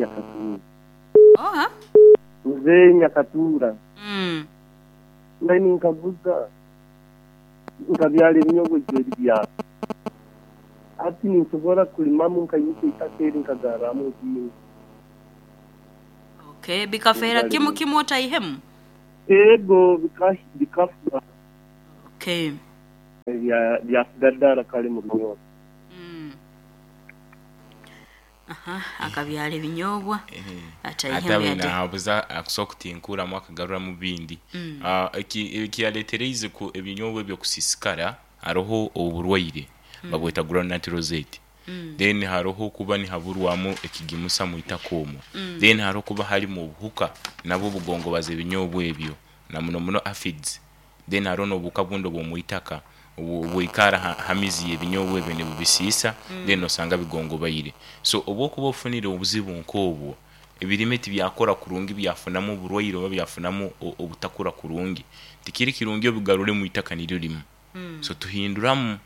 Nyakatuura. Oha? Muzeeyi Nyakatuura. Mbaire ninkaguza, nkabyara ebinyobwa ejweri byafa. Hati ninsobora kulimamu nkaimukya itaka eri nkagarramu ebindi. Okay, bikafeera kimu kimu otaihemu? Ego, bikafa. Okay. Byasiga dara kale mu binyobwa. Aha, akabyara ebinyobwa Ate ataihemu abe yade. nahabuza akusobola kutinkuramu akagaruramu bindi. Ekiyaletereize ebinyobwa ebyo kusisikara haroho oburwaire babweta groundnut rosette, then haroho okuba nihaburwamu ekigimusa mwitaka omwo, then haroho okuba harimu obuhuka nabwo bugongobaza ebinyobwa ebyo na muno muno aphids, then haroho n'obuhuka bundi obw'omwitaka obwikara ha mizi y'ebinyobwa ebyo nibubisiisa then osanga bigongobaire. So obu okuba ofunire obuzibu nk'obwo, ebirime tibyakura kurungi byafunamu oburwaire oba byafunamu obutakura kurungi, tikiri kirungi obigarure mwitaka niryo rimu. So tuhinduramu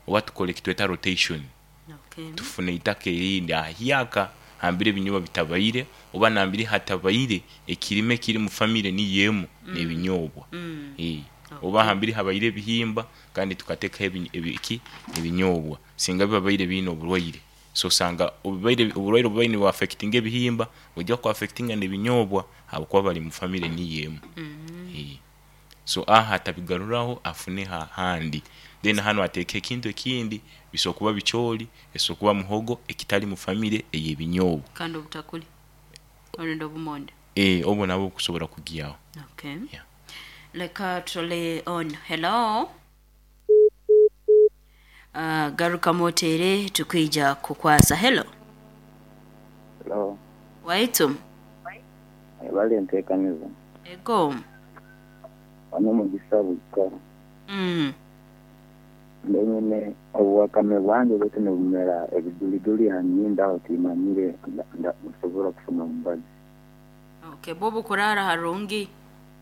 oba tukora ekitweta rotation, tufuna eitaka erindi ahahyaka hambere ebinyobwa bitabaire oba nambere hatabaire ekirime ekiri mu famire niyo emu n'ebinyobwa. Oba hambere habaire ebihimba kandi tukatekaho ki ebinyobwa singa bibabaire biine oburwaire. So osanga oburwaire obubaire nibu affectinga ebihimba bwija ku affectinga n'ebinyobwa ahabw'okuba bari mu famire niyo emu. So aha atabigaruraho afune ahandi. Then hanu atekeho ekintu ekindi, bisobola kuba bicoori, esobola kuba muhogo ekitari mu famire ey'ebinyobwa. Kandi obutakuli orundi obumonde. Obwo nabwo bukusobora kugyaho. Okay. Yeah. Leka tutole on. Hello. Garukamu oteere tukwija kukwasa. Hello. Hello. Waitu. Webale entekaniza. Ego. Wano Mugisa Bwikara. Mbe nyine obuwakame bwange bwaitu nibumera ebiduliduli ha nyindo aho timanyire nsobora kufuna omubazi. Okay, bwo bukuraara harungi?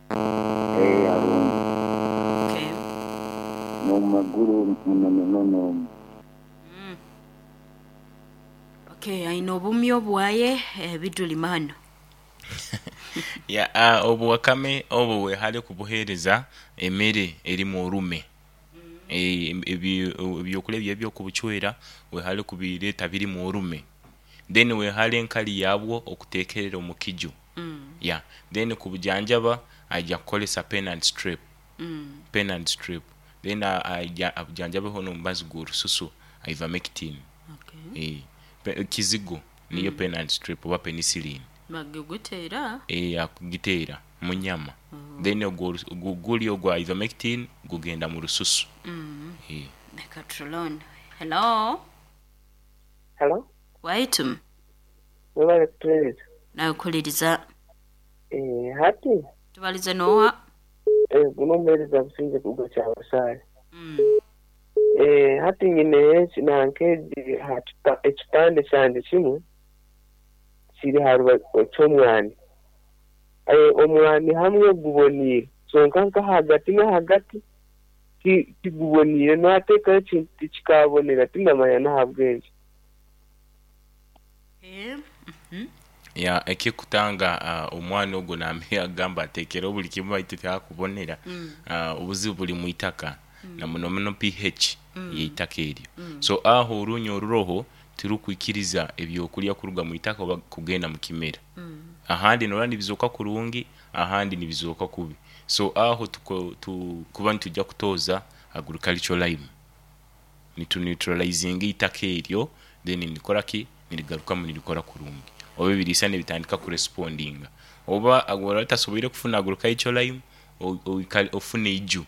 Eeh harungi. Okay. N'omu maguru muno muno n'omu. Okay, aine obumyu obwaye ebiduli manu. Yeah, obuwakame obwo wehale kubuhereza emere erimu orume. Ebyokulya byaibwe ebyokubucwera wehale kubireta birimu orume. Then wehale enkali yabwo okutekerera omu kiju. Yeah, then kubujanjaba aija kukoresa pen and strip, pen and strip. Then aija abujanjabeho n'omubazi gw'orususu ivermectin. Kizigo niyo pen and strip oba penicillin. Bagiguteera? Akugiteera mu nyama then ogwo guri ogwa ivermectin gugenda mu rususu. Leka turole ono. Hello. Hello. Waitu. Webale kutuwereza. Nakuhuliriza. Eeh hati. Tubalize noha? Eeh guno omuhereza Busingye kuruga Kyabasaale. Eeh hati nyine nanka egi ekipande kyangye kimwe kiri aha rubaju ky'omwani. Omwani hamwe guboneire kyonka nka ahagati n'ahagati tiguboneire nateekaho ekintu tikikabonera tindamanya n'ahabw'enki. Ya ekikutanga omwana ogwo nambe agamba atekereho buli kimu baitu tihakubonera, obuzibu buri mwitaka na muno muno PH yeitaka eryo. So aho orunya oruroho tirukwikiriza ebyokurya kuruga mwitaka oba kugenda mukimera. Ahandi norora nibizoka kurungi ahandi nibizoka kubi. So aho tukuba nitwija kutoza agricultural lime. Nitu neutralizinga eitaka eryo then nirikora ki? Nirigarukamu nirikora kurungi oba ebiriisa nibitandika kurespondinga. Oba oraba otasoboire kufuna agricultural lime, ofune eiju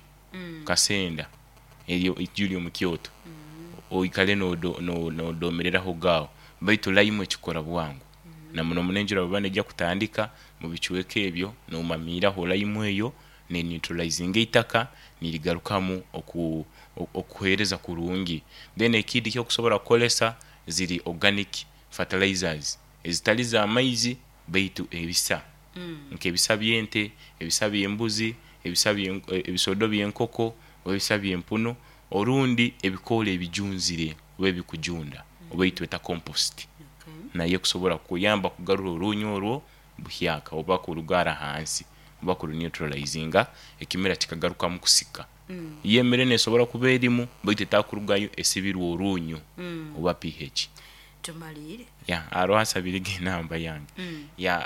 kasenda eryo eiju eryomu kyoto oikare nodomereraho agho baitu lime ekikora bwangu na muno muno enjura bweba neija kutandika mubicweka ebyo nomamiiraho lime eyo ne neutralizinga eitaka nirigarukamu okuhereza kurungi. Then ekindi ekyokusobora kukoresa ziri organic fertilizers ezitali za maizi baitu ebisa nk'ebisa by'ente, ebisa by'embuzi, ebisa ebisodo by'enkoko oba ebisa by'empunu orundi ebikoola ebijunzire oba ebikujunda oba eitweta compost. Nayo ekusobora kukuyamba kugarura orunyu orwo buhyaka oba kurugara hansi oba kuruneutralizinga ekimera kikagarukamu kusika. Yo emere nesobora kuba erimu baitu etakurugayo esibirwe orunyu oba pH. Tumaliire. Ya, aroho asabirege enamba yange. Ya.